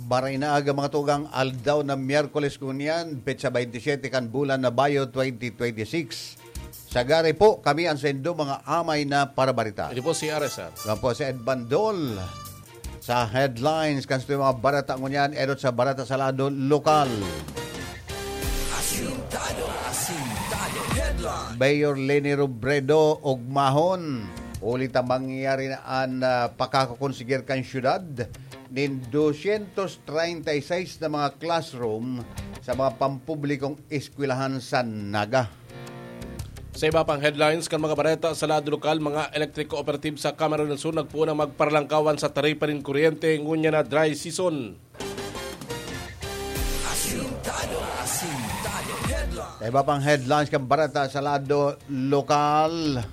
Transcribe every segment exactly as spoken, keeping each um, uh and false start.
Maray na aga, mga tugang, aldaw na Miyerkules ngunyan, petsa twenty-seven kan bulan na Bayo, twenty twenty-six. Sagari po, kami ang saindo mga amay na parabarita. Ito po si R S R. Ako po si Ed Bandol. Sa headlines, kan mga barata ngunyan, edot sa barata sa lado lokal. Asintado, asintado, headline. Mayor Leni Robredo, ugmahon. Huli ta mangyayari na an, ah, pakakakonsiger kan syudad nin dosyentos treinta y seis na mga classroom sa mga pampublikong eskwelahan sa Naga. Sa iba pang headlines kan mga bareta sa lado lokal, mga electric cooperative sa Camarines del Sur nagpoon na magparalangkawan sa taripa nin kuryente ngunyan na dry season. Asintado, asintado, headline. Sa iba pang headlines kan bareta sa lado lokal,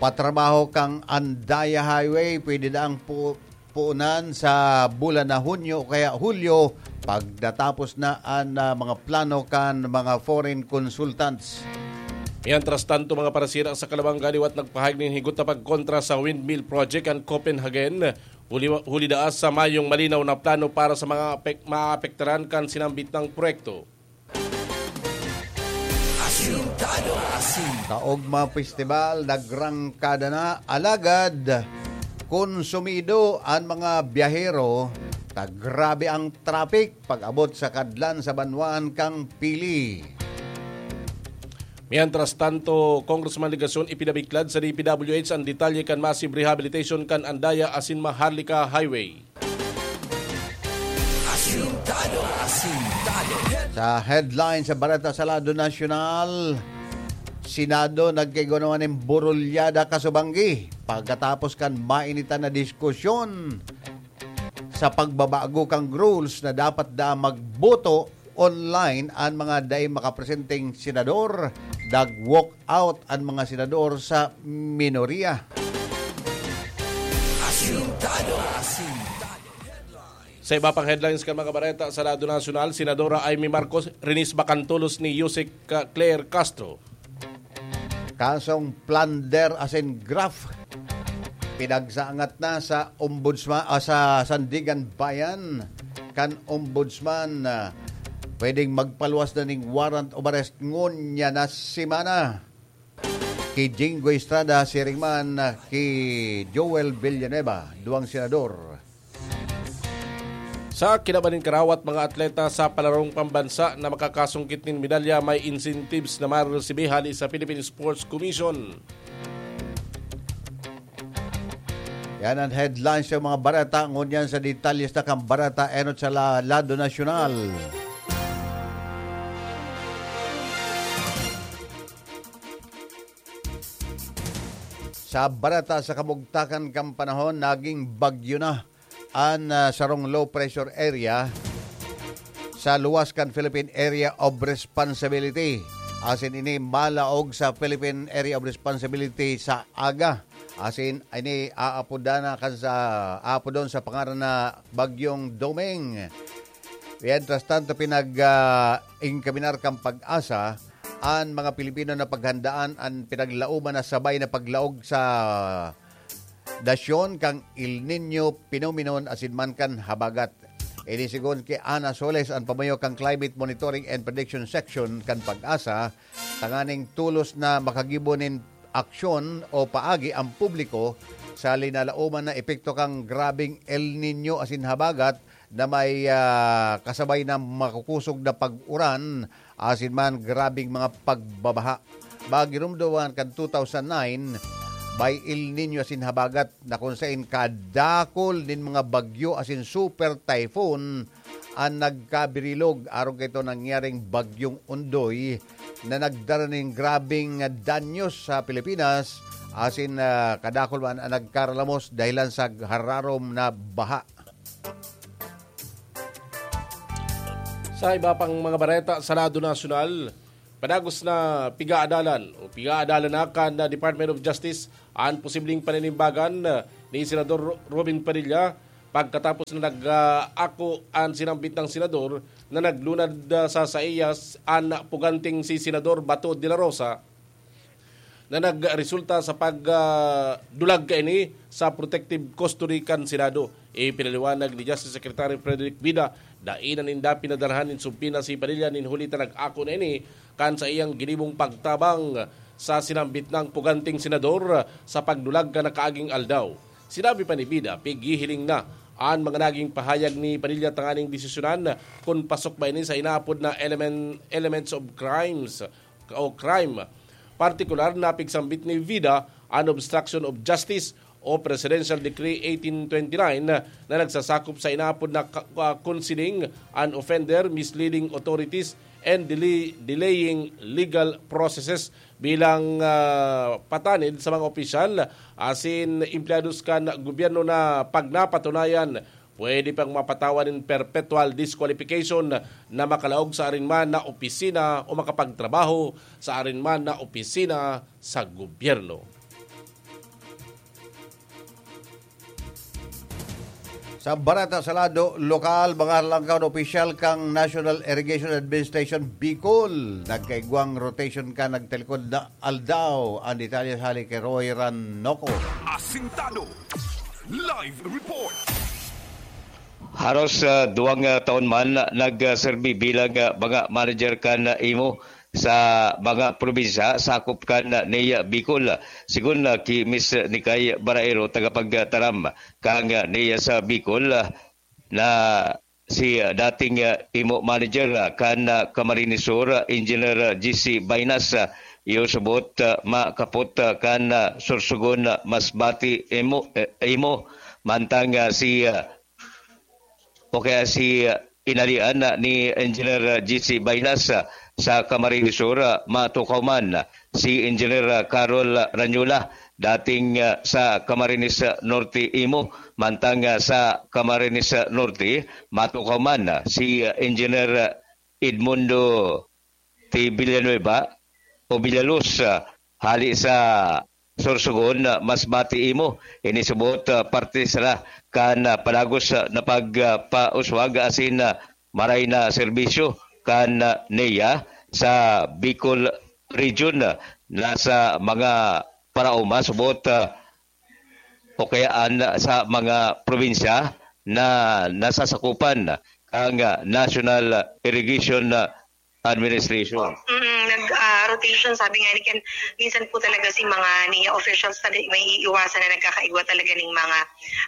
patrabaho kan Andaya Highway, pwede na ang pu-, puunan sa bulan na Hunyo o kaya Hulyo, pagdatapos na an, ah, mga plano kan mga foreign consultants. Mientras tanto, mga parasira sa Calabanga liwat nagpahayag nin higot na pagkontra sa windmill project an Copenhagen, huli, huli daa sa mayong malinaw na plano para sa mga apek-, maapektaran kan sinambit na proyekto. Asintado, asintado. Kaogma festival, nagrangkada na, alagad konsumido an mga biyahero, ta grabe ang traffic pag-abot sa kadlan sa banwaan kan Pili. Mientras tanto, Congressman Legacion ipinabiklad sa D P W H an detalye kan massive rehabilitation kan Andaya asin Maharlika Highway. Asintado, asintado. Sa headline sa bareta sa lado nasyonal, Senado nagkaigwa naman nin burulyada kasubanggi pagkatapos kan mainitan na diskusyon sa pagbabago kan rules na dapat da magboto online an mga dai makapresenteng senador, nag-walk out an mga senador sa minorya. Asintado, asintado. Sa iba pang headlines kan mga bareta sa lado nasyonal, Senadora Imee Marcos rinisba kan tolos ni Usec Claire Castro. Kasong plunder asin graft, pinagsaangat na sa ombudsman, ah, sa Sandiganbayan kan ombudsman, ah, pwedeng magpaluwas na ning warrant of arrest ngunyan na semana. Ki Jinggoy Estrada, siring man, ah, ki Joel Villanueva, duwang senador. Sa kinaban nin karawat, mga atleta sa palarong pambansa na makakasungkit nin medalya may incentives na maresibi hali sa Philippine Sports Commission. Yan ang headlines sa mga bareta. Ngunyan sa detalye sa kan bareta enot sa la-, lado nasyonal. Sa bareta sa kamugtakan kan panahon, naging bagyo na an, ah, sarong low pressure area sa luwas kan Philippine Area of Responsibility. Asin ini malaog sa Philippine Area of Responsibility sa aga. Asin ini aapodan na kan sa, aapodon sa pangaran na Bagyong Doming. Mientras tanto, pinag, ah, inkaminar kan PAGASA an mga Pilipino na paghandaan an pinaglauman na sabay na paglaog sa nasyon kan El Niño phenomenon asin man kan habagat. Ini segun ki Ana Soles, an pamayo kan Climate Monitoring and Prediction Section kan PAGASA, tanganing tolos na makagibo nin aksyon o paagi ang publiko sa linalauman na epekto kan grabeng El Niño asin habagat na may, ah, kasabay na makukusog na pag-uran asin man grabeng mga pagbabaha. Magirumduman kan two thousand nine, may El Niño asin habagat na kun saen kadakul nin mga bagyo asin super typhoon an nagkabirilog. Arog kaito nangyaring Bagyong Ondoy na nagdara nin grabeng danyos sa Pilipinas asin, ah, kadakul man an nagkaralamos dahilan sa hararom na baha. Sa iba pang mga bareta sa lado nasyonal, padagos na pigaadalan o pigaadalan na kan Department of Justice an posibleng paninimbagan ni Senador Ro-, Robin Padilla pagkatapos na nag-, ah, ako an sinambit na senador na naglunad, ah, sa saiyas an puganteng si Senador Bato de la Rosa. na nagresulta sa pagdulag kaini sa protective custody kan Senado. Ipinaliwanag ni Justice Secretary Frederick Vida, dai na ninda pinadarhan nin subpoena si Padilla nin huli ta nag-ako na ini kan saiyang ginibong pagtabang sa sinambit nang puganting senador sa pagdulag kan nakaaging aldaw. Sinabi pa ni Vida, pighihiling na an mga naging pahayag ni Padilla tanganing desisyonan kun pasok ba ini sa inaapod na elemen-, elements of crimes o crime. Partikular na pigsambit ni Vida an obstruction of justice o Presidential Decree eighteen twenty-nine na nagsasakop sa inaapod na ka-, ka-, concealing an offender, misleading authorities, and dele-, delaying legal processes bilang, ah, patanid sa mga opisyal asin empleyados kan gobyerno na pag napatunayan, pwede pang mapatawan nin perpetual disqualification na makalaog sa arin man na opisina o makapagtrabaho sa arin man na opisina sa gobyerno. Sa bareta sa lado lokal, mga langkaw na opisyal kan National Irrigation Administration Bicol nagkaigwang rotation kan nagtalikod na aldaw. Ang detalye hali ki Roy Ranoco. Asintado. Live report. Haros, ah, duwang, ah, taon man nagserbi bilang, ah, mga manager kan, ah, imo sa mga probinsya sakop kan, ah, NEA Bicol. Sigon, ah, ki Miss Nikay Baraero, tagapagtaram kan, ah, NEA sa Bicol, ah, na si, ah, dating, ah, imo manager, ah, kan, ah, Camarines Sur, ah, Engineer, ah, G C Bainas, ah, iyo subot, ah, makapot, ah, kan, ah, Sorsogon, ah, Masbate imo, eh, imo. Mantang, ah, si, ah, o kaya si, ah, inalian na ni Engineer, ah, G C Bainas, ah, sa Camarines Sur, ah, matukaw man, ah, si Engineer, ah, Carol Ranyola, dating, ah, sa Camarines, ah, Norte imo, mantang, ah, sa Camarines, ah, Norte, matukaw man, ah, si, ah, Engineer, ah, Edmundo T. Villanueva o Villaluz, ah, hali sa Sorsogon, ah, Masbate imo. Ini subot, ah, parte sara kan, ah, padagos, ah, na pag, ah, pauswag asin, ah, maray na serbisyo kan, ah, NEA sa Bicol Region, ah, nasa mga paraoma subot, ah, o kaya an, sa mga probinsya na nasasakupan kan, ah, National Irrigation, ah, Administration. Mm, nag, ah, rotation, sabi nga ni Ken, minsan po talaga si mga NEA officials talaga may iiwasan na nagkakaigwa talaga ning mga,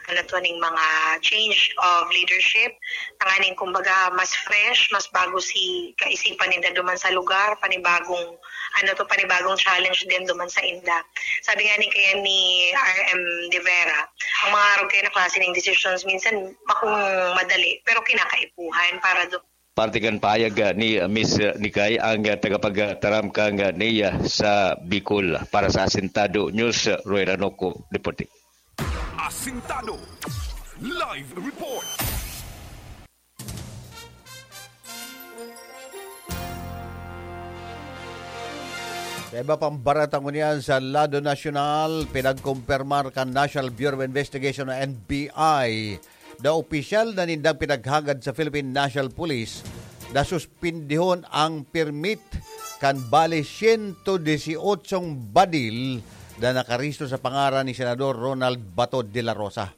ano to, ning mga change of leadership. Tanganing, kumbaga, mas fresh, mas bago si kaisipan ninda duman sa lugar, panibagong, ano to, panibagong challenge din duman sa inda. Sabi nga ni kaya ni R M De Vera, ang mga arog kaya na klase ng decisions, minsan makong madali, pero kinakaipuhan para do- Parte kan pahayag, ah, ni, ah, Miss, ah, Nikay, ang, ah, tagapagtaram kan, ah, NEA sa Bicol. Para sa Asintado News, ah, Roy Ranoco, reporting. Asintado. Live report. Sa iba pang bareta ngunyan sa lado nasyonal, pinagkumpirmar kan National Bureau of Investigation o N B I na opisyal na nindang pinaghagad sa Philippine National Police na suspindihon ang permit kan bali siyento disyotso badil na nakarehistro sa pangaran ni Senador Ronald Bato de la Rosa.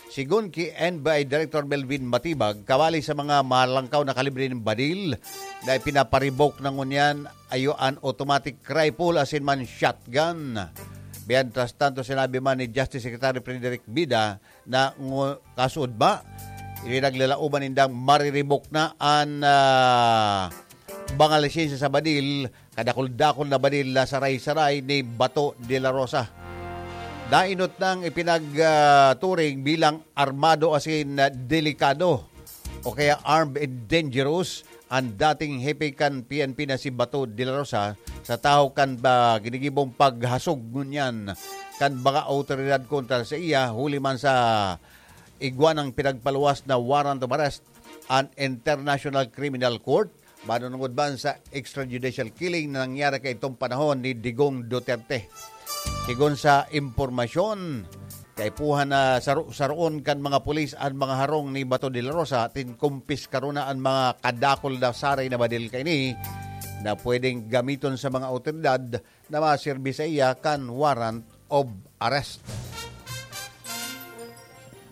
Sigon ki N B I Director Melvin Matibag, kawali sa mga malangkaw na kalibre nin badil na ipinaparibok na ngunyan iyo an automatic rifle asin man shotgun. Mientras tanto, sinabi man ni Justice Secretary Frederick Vida na ngu-, kasuodma, ipinaglalaoban nindang mariribok na an, ah, mga lisensya sa badil, kadakul-dakul na badil na saray-saray ni Bato de la Rosa. Dainot nang ipinag, ah, turing bilang armado asin, ah, delikado o kaya armed and dangerous an dating hepe kan P N P na si Bato de la Rosa sa tahaw kan, ah, ginigibong paghasog ngunyan kan mga awtoridad kontra sa iya, huli man sa igwa nang pinagpaluwas na warrant of arrest an International Criminal Court, manunungod man sa extrajudicial killing na nangyari kaidtong panahon ni Digong Duterte. Sigon sa impormasyon, kaipuhan na saro-saroon kan mga pulis an mga harong ni Bato de la Rosa, asin kumpiskaro na an mga kadakul na saray na badil kaini. na pwedeng gamiton sa mga awtoridad na maserbi saiya kan warrant of arrest.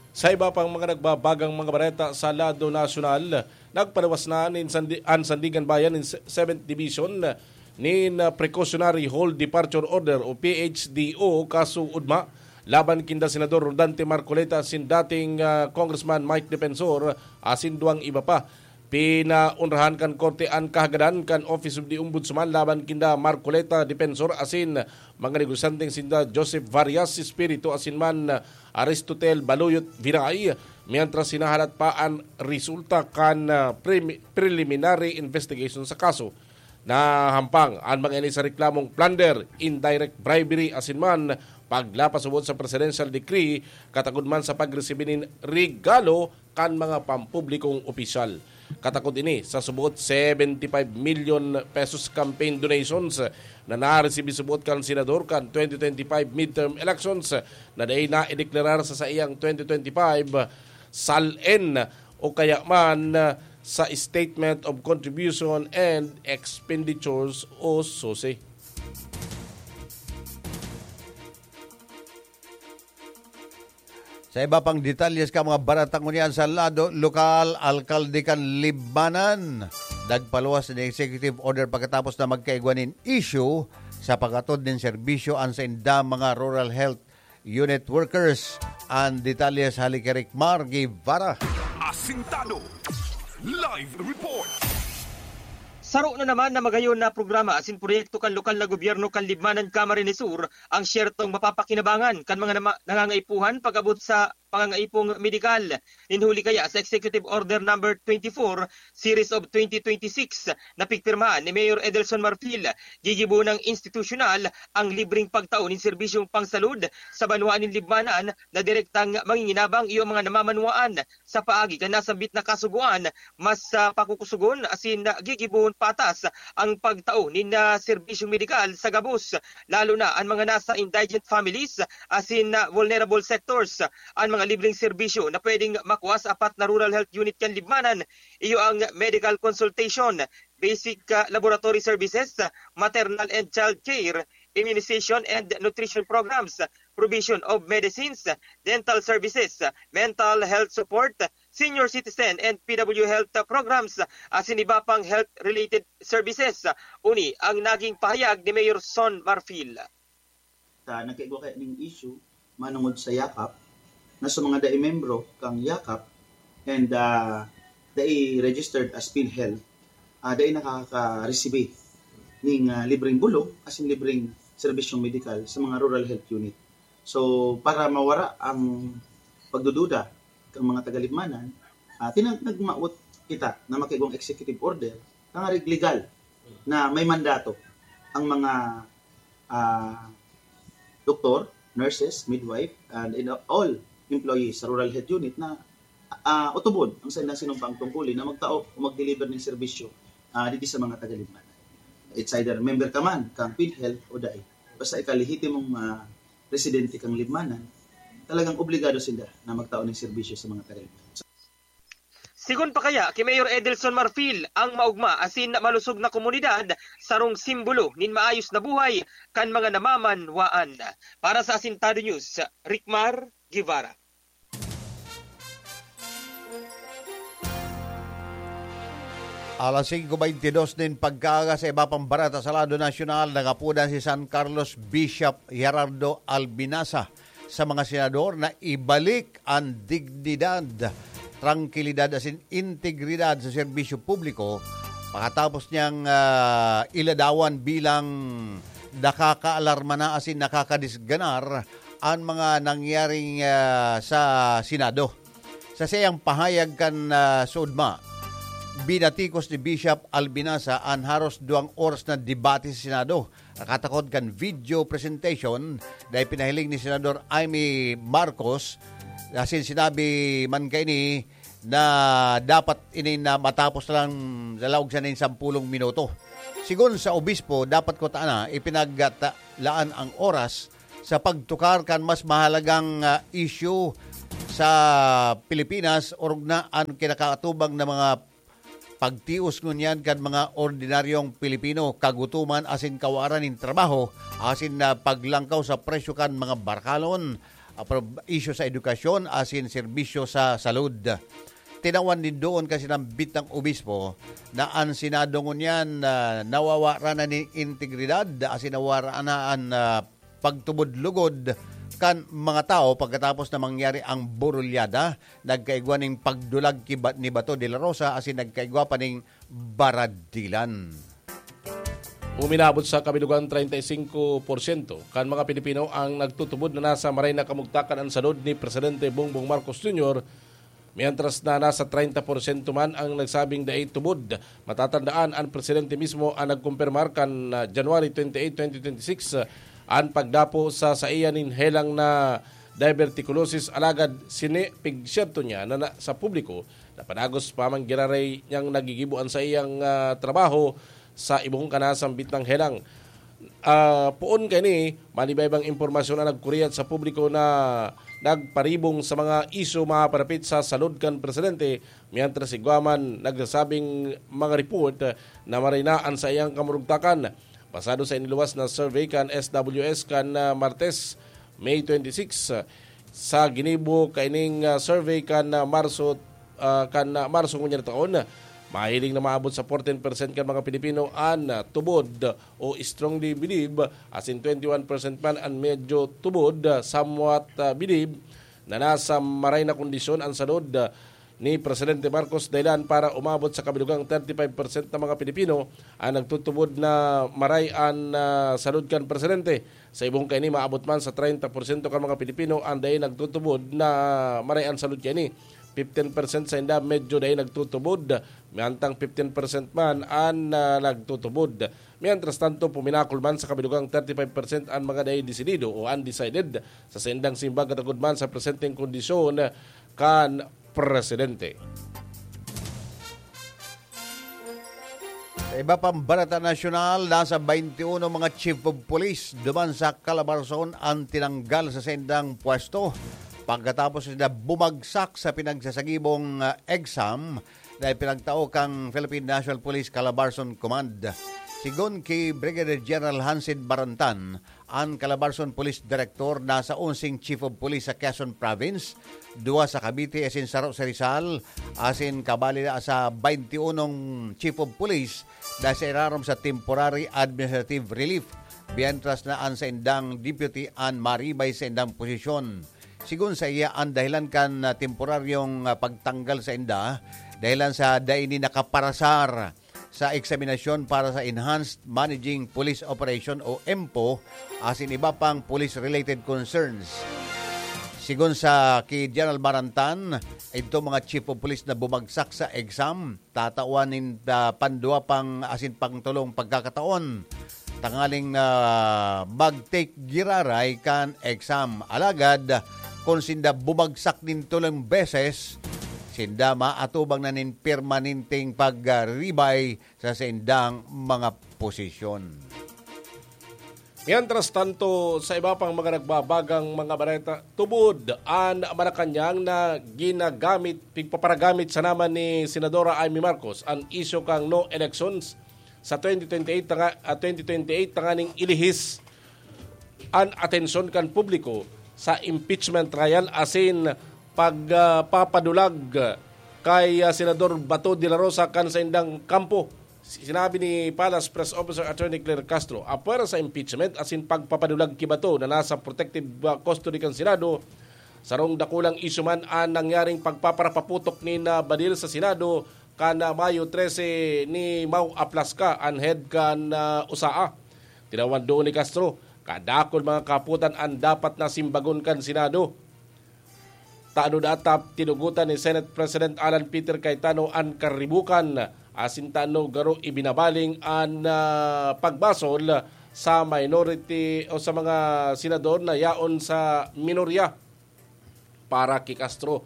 Sa iba pang mga nagbabagang mga bareta sa lado nasyonal, nagpaluwas na nin Sandi-, an Sandiganbayan nin se-, seventh Division nin, ah, Precautionary Hold Departure Order o P H D O kaso ugma laban kinda Senador Rodante Marcoleta asin dating, ah, Congressman Mike Defensor asin duwang iba pa. Pinaonrahan kan korte an kahagadan kan Office of the Ombudsman laban kinda Marcoleta Defensor asin mga negosyanteng sinda Joseph Varias Espiritu asin man Aristotel Baluyot Viray, mientras hinahalat pa an resulta kan, ah, premi-, preliminary investigation sa kaso. Nahampang an mga ini sa reklamong plunder, indirect bribery asin man paglapas subot sa presidential decree, katakod man sa pagresibi nin regalo kan mga pampublikong opisyal. Katakod ini sa subot seventy five million pesos campaign donations na naresibi subot kan senador kan twenty twenty-five midterm elections na dai naideklarar sa saiyang twenty twenty-five SALN o kaya man sa Statement of Contribution and Expenditures o SOCE. Sa iba pang detalye sa mga bareta ngunyan sa lado lokal, alkalde kan Libmanan nagpaluwas nin executive order pagkatapos na magkaigwa nin issue sa pag-atod nin serbisyo an sainda mga rural health unit workers. An detalye sa hali ki Ricmar Guevara. Asintado. Live report. Saro na naman na magayon na programa asin proyekto kan lokal na gobyerno kan Libmanan, Camarines Sur ang siyertong mapapakinabangan kan mga nama-, nangangaipuhan pag-abot sa pangangaipong medikal. Nin huli kaya sa Executive Order Number twenty-four, Series of twenty twenty-six, na pigpirmahan ni Mayor Edelson Marfil, gigibo nang institusyonal ang libreng pagtao nin serbisyong pangsalud sa banwaan nin Libmanan na direktang manginginabang iyo mga namamanwaan. Sa paagi kan nasambit na kasugoan, mas, ah, pakukusogon asin, ah, gigibohon patas ang pagtao nin, ah, serbisyong medikal sa gabos, lalo na an mga nasa indigent families asin, ah, vulnerable sectors. An mga libreng serbisyo na pwedeng makua sa apat na rural health unit kan Libmanan, iyo ang medical consultation, basic, ah, laboratory services, maternal and child care, immunization and nutrition programs, provision of medicines, dental services, mental health support, senior citizen and P W health programs, asin iba pang health-related services. Uni ang naging pahayag ni Mayor Son Marfil. Ta, nagkaigwa kaya ning issue manungod sa yakap, na sa mga dai membro kang yakap and, ah, dai registered as PhilHealth, ah, dai nakakaresibi ning, ah, libreng bulog asin libreng serbisyong medikal sa mga rural health unit. So, para mawara ang pagdududa kan mga tagalibmanan, ah, tinang-, nagmawot kita na makaigwang executive order, tangarig legal na may mandato ang mga, ah, doktor, nurses, midwife, and in all employees sa rural health unit na, ah, utubon ang saindang sinumpaang tungkulin na magtao o mag-deliver nin serbisyo, ah, digdi sa mga tagalibmanan. It's either member ka man kang PhilHealth o dai. Basta ika lehitimong, ah, residente kang Libmanan, talagang obligado sinda na magtao nin serbisyo sa mga tagalibmanan. Sigon pa kaya ki Mayor Edelson Marfil, ang maogma asin malusog na komunidad sarong simbolo nin maayos na buhay kan mga namamanwaan. Para sa Asintado News, Ricmar Guevara. Alas singko beintidos nin pagkaaga, sa iba pang bareta sa lado nasyonal, nagapodan si San Carlos Bishop Gerardo Albinasa sa mga senador na ibalik an dignidad, trangkilidad asin integridad sa serbisyo publiko pakatapos niyang, ah, iladawan bilang nakakaalarma na asin nakakadisganar an mga nangyaring, ah, sa Senado. Sa saiyang pahayag kan, ah, sa ugma, binatikos ni Bishop Albinasa an haros duwang oras na debate sa Senado. Nakatakod kan video presentation na ipinahiling ni Senador Imee Marcos, asin sinabi man kaini na dapat ini na matapos lang sa laog sa nin sampulong minuto. Sigon sa obispo, dapat kutana ipinaglaan ang oras sa pagtukar kan mas mahalagang, ah, isyu sa Pilipinas, orog na an kinakaatubang na mga pagtios ngunyan kan mga ordinaryong Pilipino, kagutoman asin kawaran nin trabaho, asin na paglangkaw sa presyo kan mga barakalon, apro-, isyu sa edukasyon asin serbisyo sa salud. Tinawan nin doon kan sinambit na obispo na an Senado ngunyan, ah, nawawaran na nin integridad asin nawaran na an, ah, pagtubod lugod kan mga tawo pagkatapos na mangyari ang burulyada. Nagkaigwa nin pagdulag ki Ba-, ni Bato de la Rosa asin nagkaigwa pa nin baradilan. Uminabot sa kabilugan treinta y cinco por ciento kan mga Pilipino ang nagtutubod na nasa maray na kamugtakan an salud ni Presidente Bongbong Marcos Junior, mientras na nasa treinta por ciento man ang nagsabing dai tubod. Matatandaan, an presidente mismo ang nagkumpirmar kan, ah, January twenty-eight, twenty twenty-six, ah, an pagdapo sa saiya nin helang na diverticulosis, alagad sini pigsyerto niya na, na sa publiko na padagos pa man giraray niyang nagigibo an saiyang, ah, trabaho sa ibong kana sambit ng helang. Ah, poon kaini, manibaybang impormasyon ang nagkuriyat sa publiko na nagparibong sa mga isyu maparapit sa salud kan presidente, mientras igwa man nagsasabing mga report na maray na an saiyang kamurugtakan. Basado sa iniluwas na survey kan S W S kan, ah, Martes, May twenty-six, sa ginibo kaining, ah, survey kan, ah, Marso, ah, kan, ah, Marso ngunyan na taon, mahiling na maabot sa fourteen percent kan mga Pilipino an, ah, tubod o strongly believe, asin twenty-one percent man an medyo tubod, ah, somewhat, ah, believe, na nasa maray na kondisyon an salud, ah, ni Presidente Marcos, dahilan para umabot sa kabilugang thirty-five percent na mga Pilipino ang nagtutubod na maray an, ah, salud kan presidente. Sa ibong kaini, maabot man sa treinta por ciento kan mga Pilipino ang dai nagtutubod na maray an salud kaini. Fifteen percent sainda medyo dai nagtutubod, mantang fifteen percent man an, ah, nagtutubod. Mientras tanto, puminakol man sa kabilugang thirty-five percent an mga dai desidido o undecided sa saindang simbag katagod man sa presenteng kondisyon kan presidente. Sa iba pang balita nasyonal, nasa twenty-one mga chief of police duman sa Calabarzon ang tinanggal sa saindang pwesto pagkatapos na bumagsak sa pinagsasagibong, ah, exam na ipinagtao kan Philippine National Police Calabarzon Command. Sigon ki Brigadier General Hansen Barantan, an Calabarzon Police Director, nasa onseng Chief of Police sa Quezon Province, duwa sa Cavite asin saro sa Rizal, asin kabali na sa twenty-one Chief of Police na sa irarom sa temporary administrative relief, mientras na an saindang deputy an maribay sa indang posisyon. Sigon sa iya, an dahilan kan, ah, temporaryong, ah, pagtanggal sa inda, dahilan sa dai ini nakaparasar sa eksaminasyon para sa Enhanced Managing Police Operation o EMPO, asin iba pang police-related concerns. Sigon sa ki General Barantan, idto mga chief of police na bumagsak sa exam, tatawan nin, ah, pandua pang asin pangtulong pagkakataon tangaling, ah, mag-take giraray kan exam. Alagad, kun sinda bumagsak nin tulong beses, sinda maatubang na nin permanenteng pagribay sa saindang mga posisyon. Mientras tanto, sa iba pang mga nagbabagang mga bareta, tubod an Malacañang na ginagamit, pigpaparagamit sana man ni Senadora Imee Marcos an isyu kan no elections sa twenty twenty-eight tanga, ah, twenty twenty-eight tanganing ilihis an atensyon kan publiko sa impeachment trial asin pag, ah, papadulag kay, ah, Senador Bato de la Rosa kan saindang kampo. Si-, sinabi ni Palace Press Officer Attorney Claire Castro, apwera sa impeachment asin pagpapadulag ki Bato na nasa protective, ah, custody kan Senado, sarong dakulang isyu man an nangyaring pagpaparapaputok ni na Badil sa Senado kan, ah, Mayo trese ni Mau Aplaska, an head kan, ah, usaa. Tinawan doon ni Castro, kadakul mga kaputan an dapat na simbagon kan Senado. Tano datap tinugutan ni Senate President Alan Peter Cayetano an karibukan, asin tano garo ibinabaling an, ah, pagbasol sa minority o sa mga senador na yaon sa minorya. Para ki Castro,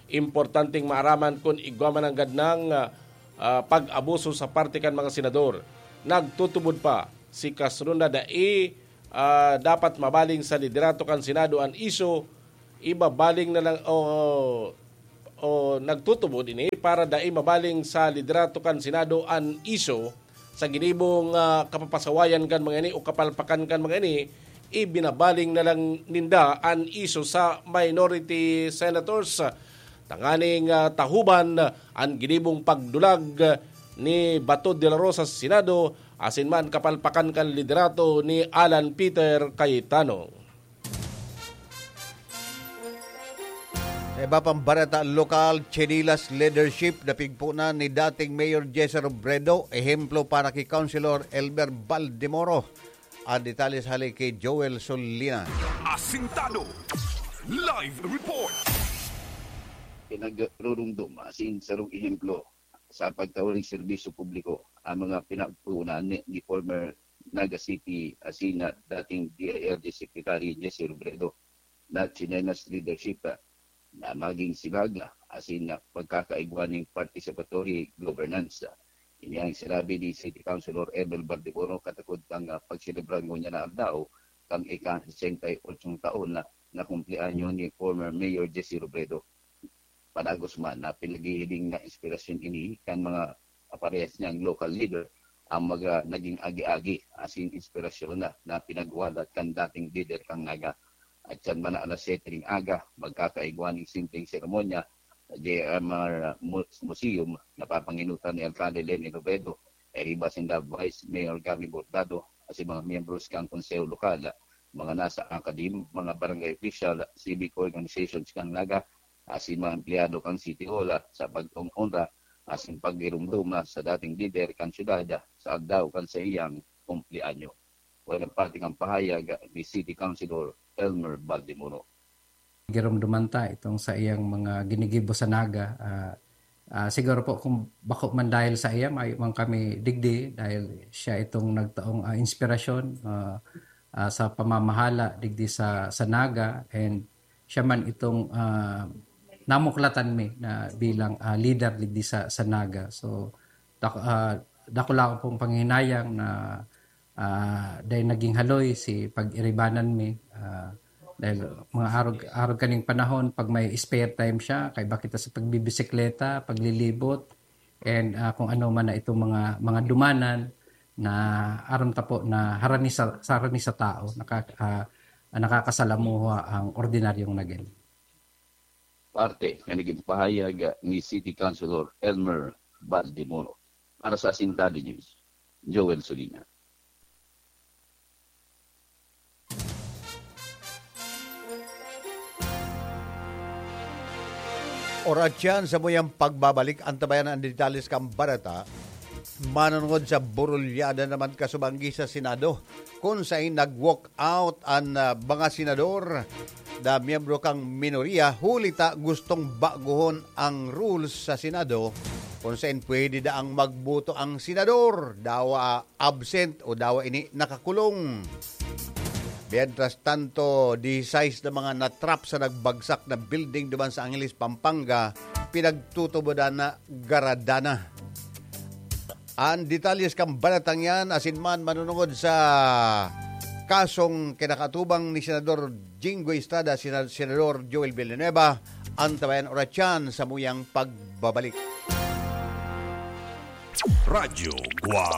importanteng maaraman kun igwa man nanggad nang, ah, pag-abuso sa parte kan mga senador. Nagtutubod pa si Castro na dai, ah, dapat mabaling sa liderato kan Senado an isyu, ibabaling na lang o, o Nagtutubod ini para dai mabaling sa liderato kan Senado an isyu sa ginibong, ah, kapapasawayan kan mga ini o kapalpakan kan mga ini, ibinabaling na lang ninda an isyu sa minority senators. Tanganing, ah, tahuban an ginibong pagdulag ni Bato de la Rosa sa Senado asin man kapalpakan kan liderato ni Alan Peter Cayetano. Sa iba pang bareta lokal, Chinilas leadership na pigpunan ni dating Mayor Jesse Robredo, ehemplo para ki Councilor Elmer Baldemoro. Ang detalye hali ki Joel Solina. Asintado. Live report. Pinagrurumdom asin sarong ehemplo sa pagtao nin serbisyo publiko ang mga pinagpunan ni, ni former Naga City asin na dating D I L G Secretary Jesse Robredo na Chinelas leadership, ah, na maging sibaga asin na pagkakaigwa ning participatory governance. Ini ang sinabi ni City Councilor Emil Bardiboro katakod kan, ah, pagselebrar ngunyan na aldaw kan ika-sesenta y ocho taon na nakumpleanyo ni former Mayor Jesse Robredo. Padagos man na pinaghihiling na inspirasyon ini kan mga kaparehas niyang local leader ang mga naging agi-agi asin inspirasyon na, na pinagwalat kan dating lider kan Naga. At siyan man na alas siyete ning aga, magkakaigwa ning simpleng seremonya sa J M R Mu-, Museum na papanginutan ni Alcalde Leni Robredo, kairiba sinda Vice Mayor Gabby Bordado, asin mga miyembros kan Konseho Lokal, mga nasa academe, mga barangay official, civic organizations kan Naga, asin mga empleyado kan City Hall, ah, sa pagtong onra asin pagirumdom, ah, sa dating lider kan syudad, ah, sa aldaw kan saiyang kumpleanyo. Walang parte kan pahayag, ah, ni City Councilor Elmer Baldemoro. Giromdoman ta itong saiyang mga ginigibo sa Naga. Ah, ah, siguro po kung bako man dahil sa iya, mayo man kami digdi dahil siya itong nagtaong, ah, inspirasyon, ah, ah, sa pamamahala digdi sa, sa Naga, and siya man itong, ah, namuklatan mi na bilang, ah, leader digdi sa, sa Naga. So, dak-, ah, dakula ko pong panghihinayang na, ah, dahil naging haloy si pag-iribanan mi, ah, dahil mga arog, arog kaning panahon, pag may spare time siya, kaiba kita sa pagbibisikleta, paglilibot, and, ah, kung ano man na itong mga, mga dumanan na aram ta po na harani sa, sa harani sa tao, nakak-, ah, nakakasalamuha ang ordinaryong Nagueno. Parte na naging pahayag ni City Councilor Elmer Baldemoro. Para sa Asintado News, Joel Solina. Oras yan sa muyang pagbabalik. Antabayan ang detalles kan bareta. Manunungod sa burulyada naman kasubanggi sa Senado, kung sain nag-walk out an, ah, mga senador na miyembro kan minorya, huli ta gustong baguhon ang rules sa Senado, kung sain pwede daang magboto ang senador, dawa absent o dawa ini nakakulong. Mientras tanto, disisais na mga natrap sa nagbagsak na building duman sa Angeles, Pampanga, pinagtutubodan na garadana. Ang detalles kan balatang yan, asin man manunungod sa kasong kinakatubang ni Senador Jinggoy Estrada, Sena-, Senador Joel Villanueva, antabayan oras yan sa muyang pagbabalik. Radyo Guwang.